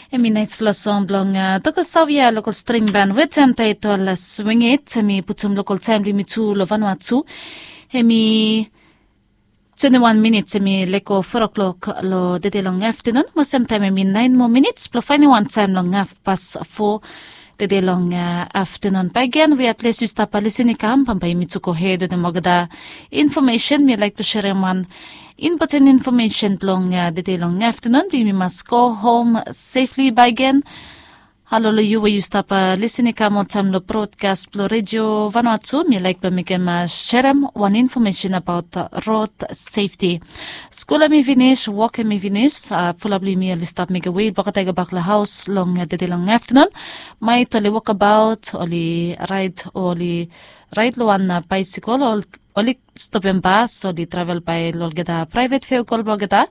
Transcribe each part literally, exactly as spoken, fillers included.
Em i naisfala song blong Tokosavia lokol string ban wetem taitol Swing It. Em i putum lokol taem blong yumi tu long Vanuatu. Em i twenti wan minits, em i lego fo klok long tede long aftenun. Mo semtaem em i naen moa minits blong faenem wan taem long hafpas fo tede long aftenun. Bae gen we a ples yu stap lisin i kam, bambae yumi tu gohed wetem olgeta infomesen. Mi laek blong serem wan impoten infomesen blong tede long aftenun, blong yumi mas go hom sefli bae gen. Halo long yu we yu stap lisin i kam oltaem long brodkas blong redio Vanuatu. Mi laek blong mekem serem wan infomesen abaot rod sefti. Skul em i finis, wok em i finis. Fulap blong yumi oli stap mekem wei blong olgeta i gobak long haos long tede long aftenun. Maet oli wokabaot, oli raed, oli raed long wan baesikol, oli stopem bas, oli travel bae long olgeta praevet vehikol blong olgeta,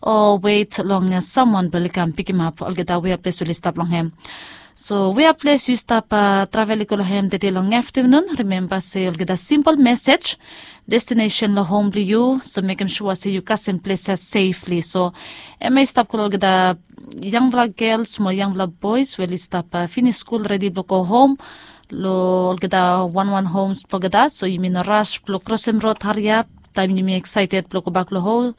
o wet long samwan blong oli kam pikimap olgeta we a ples oli stap long hem. So we a ples yu stap travel i go long hem tede long aftenun, rimemba se olgeta simpol mesej, destinesen long hom blong yu. So mekem sua se yu kasem ples ya sefli. So em ya i stap go long olgeta yangfala gels mo yangfala boes we oli stap finis skul, redi blong go hom, long olgeta wanwan homs blong olgeta. So yumi no ras blong krosem rod hariap taem yumi eksaeted blong gobak long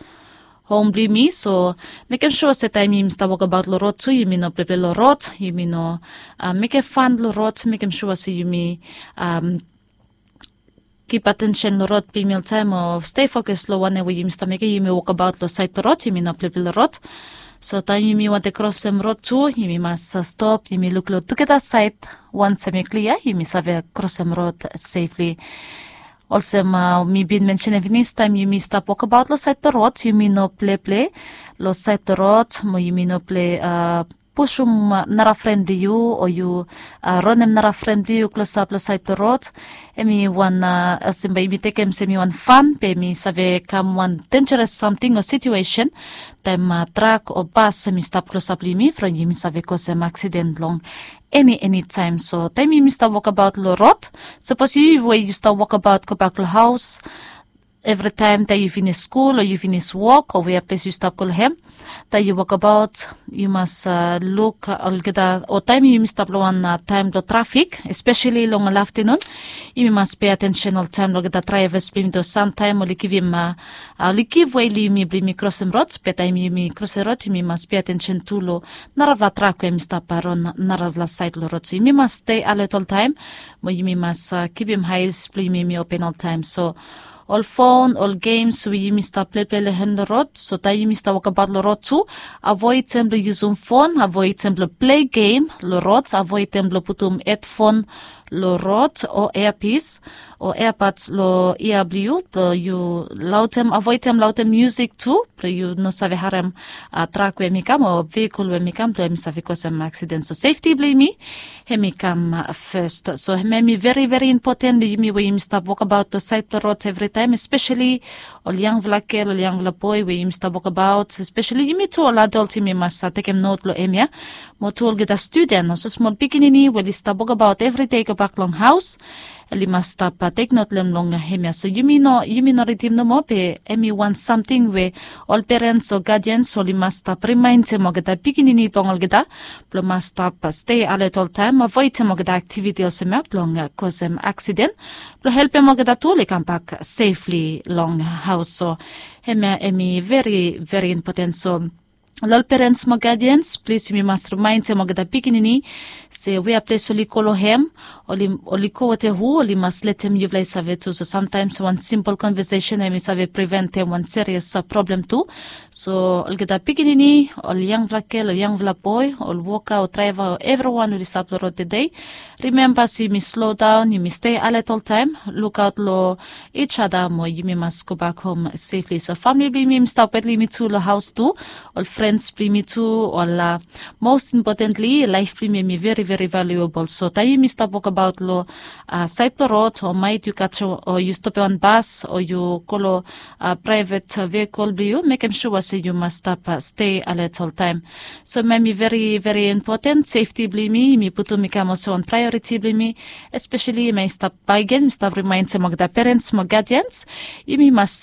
hom blong yumi. So mekem sua se taem yumi stap wokabaot long rod tu, yumi no pleple long rod, yumi no mekem fan long rod. Mekem sua se yumi kip atensen long rod blong yumi oltaem, o stei fokas long wanem we yumi stap mekem. Yumi wokabaot long saed blong rod, yumi no pleple long rod. So taem yumi wantem krosem rod tu, yumi mas stop, yumi luk long tugeta saed. Wans em i klia, yumi save krosem rod sefli. Olsem mi bin mensenem finis, taem yumi stap wokabaot long saed blong rod, yumi no pleple long saed blong rod, mo yumi no pleple pusum nara fren blong yu, o yu ranem nara fren blong yu klosap long saed blong rod. Em i wan, olsem bae yumi tekem se em i wan fan, be em i save kam wan denjeres samting o situesen. Taem trak o bas em i stap klosap long yumi, from yumi save kosem aksiden long eni eni taem. So taem yumi stap wokabaot long rod, sapos yu we yu stap wokabaot gobak long haos, evritaem taem yu finis skul o yu finis wok o wea ples yu stap go long hem, taem yu wokabaot, yu mas luk olgeta, o taem yumi stap long wan taem blong trafik, espeseli long ol aftenun, yumi mas pei atensen oltaem long olgeta draevas blong yumi. Samtaem oli givim, oli givwe long yumi blong yumi krosem rod, be taem yumi krosem rod yumi mas pei atensen tu long narafala trak we hemi stap ron narafala saed long rod. So yumi mas stei alet oltaem, mo yumi mas kipim aes blong yumi hemi open oltaem. So ol fon, ol gems we yumi stap pleple long hem long rod, so taem yumi stap wokabaot long rod tu, avoedem blong yusum fon, avoedem blong plei gem long rod, avoedem blong putum hedfon long rod o eapis o eapads long yia blong yu, blong yu laodem, avoedem laodem musik tu, blong yu no save harem trak we hemi kam o vehikol we hemi kam, blong hemi save kosem aksiden. So sefti blong yumi hemi kam fes. So hemia hemi veri veri impoten long yumi we yumi stap wokabaot long saed blong rod evritaem, espeseli ol yangfala gel, ol yangfala boe we yumi stap wokabaot, espeseli yumi tu ol adol, yumi mas tekem not long hemia. Mo tu olgeta studen, olsem smol pikinini we oli stap wokabaot evridei gobak long haos, oli mas stap teknot long hem long hemia. So yumi no, yumi no ridim nomo, be hemi wan samting we ol perens o gadians oli mas stap rimaendem olgeta pikinini blong olgeta blong mas stap stei alet oltaem, avoedem olgeta aktiviti olsem ya blong kosem aksiden, blong helpem olgeta tu oli kambak sefli long haos. So hemia hemi veri veri impoten. So ol perens mo gadians, plis yumi mas rimaendem olgeta pikinini se wea ples oli go long hem, oli, oli go wetem hu, oli mas letem yufala i save tu. So samtaems wan simpol konvesesen hemi save priventem wan serias problem tu. So olgeta pikinini, ol yangfala gel, ol yangfala boe, ol woka o draeva o evriwan oli stap long rod tede, rimemba se yumi slodaon, yumi stei alet oltaem, lukaot long each other, mo yumi mas gobak hom sefli. So famili blong yumi hemi stap wet long yumi tu long haos tu, ol frens blong yumi tu, ol, mos impotentli laef blong yumi hemi veri veri valuebol. So taem yumi stap wokabaot long saed blong rod, o maet yu katjem o yu stopem wan bas o yu go long praevet vehikol blong yu, mekem sua se yu mas stap stei alet oltaem. So hemia hemi veri veri impoten, sefti blong yumi, yumi putum i kam olsem wan praeoriti blong yumi, espeseli hemia i stap, bae gen mi stap rimaendem olgeta perens mo gadians, yumi mas